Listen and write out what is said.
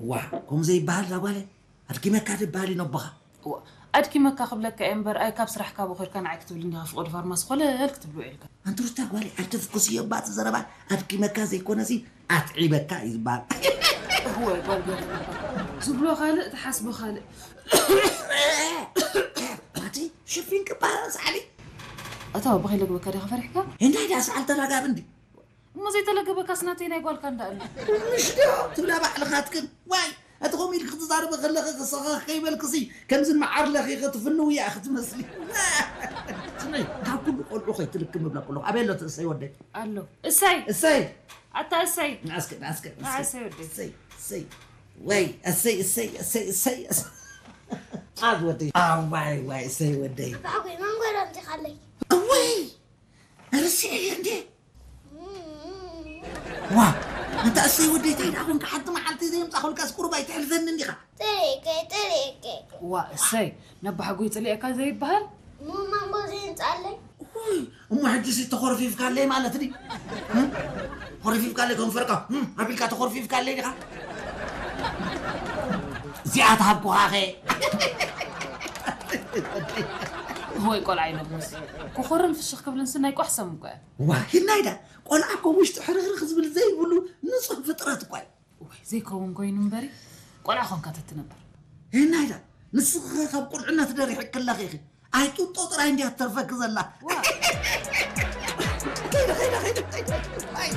ዋ፣ ከምኡ ዘይበሃል እዛ ጓለይ። ኣድኪመካ ዝበሃል እዩ ነቦኻ። እዋ፣ ኣድኪመካ ክብለካ እየ እምበር፣ ኣይ ካብ ስራሕ ካብ ኾርካ ንዓይ ክትብል እንዲኻ ፍቑድ ፋርማሲ ኮለል ክትብሎ ኢልካ። ኣንቲ ሩታ ጓለይ፣ ኣይተፍኩስዮ እባ እቲ ዘረባ። ኣድኪመካ ዘይኮነሲ ኣትዒበካ እዩ ዝበሃል። እወ፣ ጓል ገርልባ። ዝብሎ ካልእ፣ ትሓስቦ ካልእ። ማቲ፣ ሽፊንኪ እባ ሰዓሊ። ኣታ ብኸይለግበካ ዲኻ ፈሪሕካ? እንታይ ደኣ ሰዓል ተላጋቢ እንዲ። እሞ ዘይተለገበካስ ናተይ ናይ ጓልካ እንዳ ኣሎ። ምሽ ዶ ትብላ ባዕልኻትክን? ዋይ፣ እቲ ከምኡ ኢልኪ ክትዛረቢ ከለኺ ክስኻ ከይበልክሲ ከምዚ መዓር ለኺኺ ትፍንዊ እያ ክትመስሊ። ስመይ፣ ካብ ኩሉ ቆልዑ ከይትልክም እብላ ከለኹ ኣበይ ኣሎ እቲ እሰይ ወደይ? ኣሎ። እሰይ። እሰይ። ኣታ እሰይ። ናስከ ናስከ ንዓ እሰይ ወደይ። እሰይ እሰይ ወይ እሰይ እሰይ እሰይ እሰይ። ጻድ ወደይ። ኣዋይ ዋይ እሰይ ወደይ። ባዕጎይ መንጎ ዶ ኣምጺኻለይ? እወይ ርሲዐ እየ እንዴ። ዋ፣ ኣንታ እሰይ ወደይ፣ እንታይ ደኣ ኮንካ? ሓንቲ መዓልቲ ዘየምጻኹልካስ ቁሩብ ኣይተሕልፈንን ዲኻ? ጥሪቀ ጥሪቀ ዋ እሰይ፣ ነባሕጎይ ጽሊኤካ ዘይበሃል። ሙማ እሞ ዘይምጻለይ። ውይ፣ እሞ ሕጂሲ ተኾርፊፍካለይ ማለት ድዩ? እ? ተኾርፊፍካለይ ከም ፈርቃ፣ እ? ኣቢልካ ተኾርፊፍካለይ ዲኻ? እዚኣ ትሃብኩኻኸ። ወይ ቆልዓ ይነብስ። ክኾርን ፍሽኽ ክብልንስ ናይ ቋሕ ሰም እኮ እያ። ዋ፣ ሂናይዳ፣ ቆልዓ እኮ ውሽጡ ሕርኽርኽ ዝብል ዘይብሉ ንጹህ ፍጥረት እኳ እዩ። እዋይ ዘይከውን ኮይኑ እምበሪ ቆልዓ ኾንካ ተትነብር። ሄናይዳ ንስኺ ኸ ካብ ቁልዕነት ደሪሕክለኺ ኢኺ። ኣይ ጡጦ ጥራይ እንድያ ትተርፈኪ ዘላ። ዋ። ከይደ ከይደ ከይደ ከይደ። ኣይ።